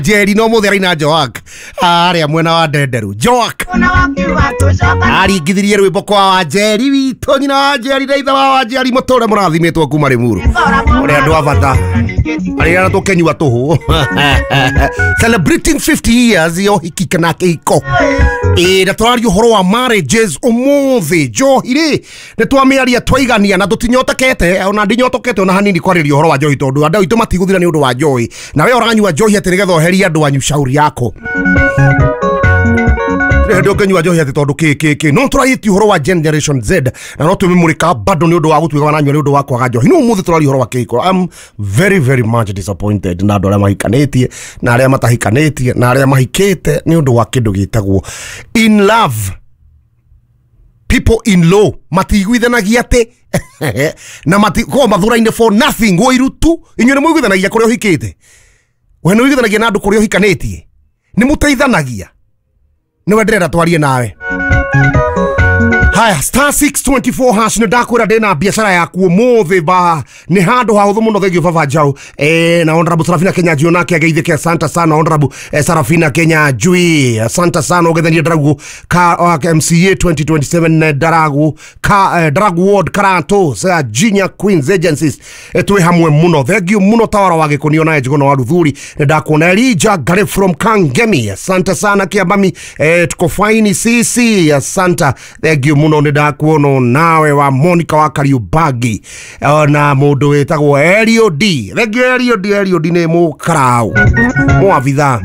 Njeri no mũthĩ araina Joak arĩa mwena wa Ndenderu. Joak aringithirie rwĩmbo kwa Wanjeri witũ, nyina wa Njeri na ithe wa Wanjeri, mũtũre mũrathimĩtwo kuma Rĩmuru, ũrĩa andũ a bata arĩa tũkenyua tũhũ celebrating 50 years ya ũhiki kana kĩhiko. Ĩ na tũraria ũhoro wa marriages ũmũthĩ. Njohi rĩ, nĩ twamĩaria twaigania na tũtinyotekete, ona ndinyotokete ona hanini kwarĩria ũhoro wa njohi, tondũ andũ aitũ matigũthira nĩ ũndũ wa njohi. Na we ũranyua njohi atĩ nĩgetha ũherie andũ anyu, shauri yako. Hĩndĩ ũngĩnyua njohi atĩ tondũ kĩ kĩ kĩ, no tũrarĩtie ũhoro wa Generation Z na no twĩmũrĩka bado nĩ ũndũ wa gũtuĩka wananyua nĩ ũndũ wa kwaga njohi. No ũmũthĩ tũraria ũhoro wa kĩhiko. I'm very very much disappointed na andũ arĩa mahikanĩtie na arĩa matahikanĩtie na arĩa mahikĩte nĩ ũndũ wa kĩndũ gĩtagwo in love. People in law matiiguithanagia atĩ na matikoragwo mathuraine for nothing. Ũiru tu. Inyuĩ nĩ mũiguithanagia kũrĩa ũhikĩte? We nĩ ũiguithanagia na andũ kũrĩa ũhikanĩtie? Nĩ mũteithanagia? Nĩwe ndĩrenda twarie nawe. Haya, *624#, nĩ ndakwĩra ndĩna biacara yaku ũmũthĩ ba nĩ handũ hahũthũ mũno. Thank you, baba Njau na Honorable Sarafina Kenya Njui nake ageithĩke. Asante sana, Honorable Sarafina Kenya Njui, asante sana. Ũgethenie Ndaragu ka MCA 2027, Ndaragu ka Ndaragu Ward, Karanto sa Junior Queens Agencies, twĩ hamwe mũno. Thank you mũno. Tawara wa Gĩkũnio na Njũgũna wa Ruthuri, nĩ ndakuona. Elija Gare from Kangemi, asante sana. Kiambami, tuko fine sisi, asante, thank you mũno. Nĩ ndakuona nawe wa Monica wa Kariubangi na mũndũ wĩtagwo Eliod. Thank you, Eliod. Eliod nĩ mũkarau mũabitha.